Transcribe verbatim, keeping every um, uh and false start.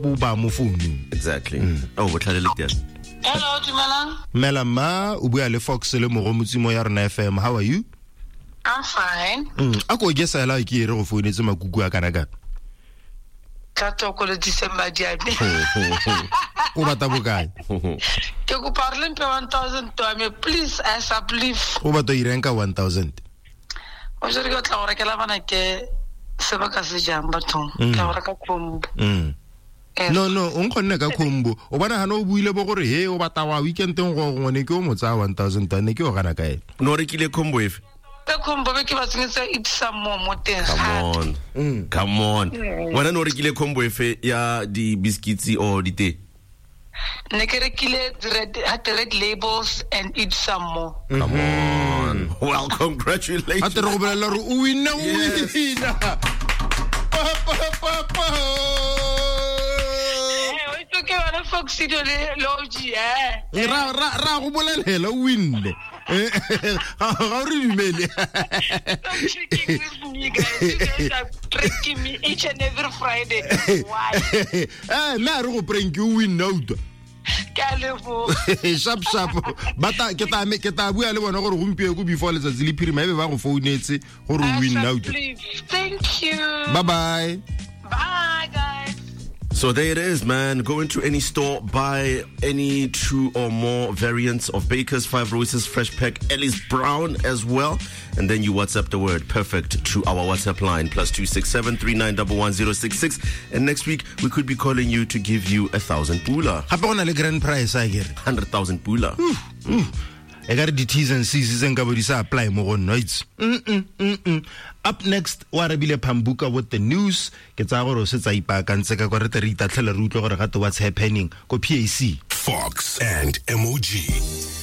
bo ba mo founung. Exactly. Oh, botlhale le teng. Hello, dumelang. Mela ma o bua le Fox le Mogomotsi mo ya rona F M. How are you? I'm fine. Mm, a ko ke sala ke ere go founetse makuku a kana kana. Ka toko le December di a me. O batla bokae? Ke kopa re le mpe one thousand to me, please, I suppleave. O batla ireng ka one thousand? O jere ke tla go rekela bana ke se ba ka se jang bathong. Mm. Ke tla go reka combo. Mm. Eh. No, no, o nkgonne ka combo. O bona hana o buile bo gore he o batla wa weekend-eng go gongwe ke o mo tsaya one thousand ne ke o gana kae. No rekile combo efe? Ka combo be ke ba tsengetse eat some more mo teng. Come on. Mm. Come on. Mm. Wena no rekile combo efe ya di biscuits or di tee? Ne ke rekile red, had the red labels and eat some more. Come on. Well, congratulations. A tere go bolela gore o winne, o Yes. winna. Pa, pa, pa, pa. Eh, o itse ke yone Fox Studio le, le O G, eh. Eh, ra, ra, ra go bolelela, o winne. Eh, ga, ga o re dumele. Stop tricking with me, guys. You guys are pranking me each and every Friday. Why? Eh, nna re go prank, o winne, o utlwa. Ke a leboga. Sharp, sharp. Bata, ke tla me, ke tla bua le bona gore gompieno before letsatsi le phirima ebe ba go founetse gore o winne, o utlwa. Please. Thank you. Bye bye. Bye, guys. So there it is, man. Go into any store, buy any two or more variants of Baker's, Five Roses, Fresh Pack, Ellis Brown as well. And then you WhatsApp the word perfect to our WhatsApp line, plus two six seven, three nine one one zero six six. And next week, we could be calling you to give you a thousand pula. Gape go na le grand prize, I get. hundred thousand pula. Mm, mm. E ka re di-T's and C's tse nka bo di sa apply mo go nna, itse. Mm, mm, mm, mm. Up next, o arabile Pambuka with the news. Ke tsaya gore o setse a ipaakantse ka kwa re tle re itatlhele re utlwe gore gape what's happening ko P A C. Fox and M O G.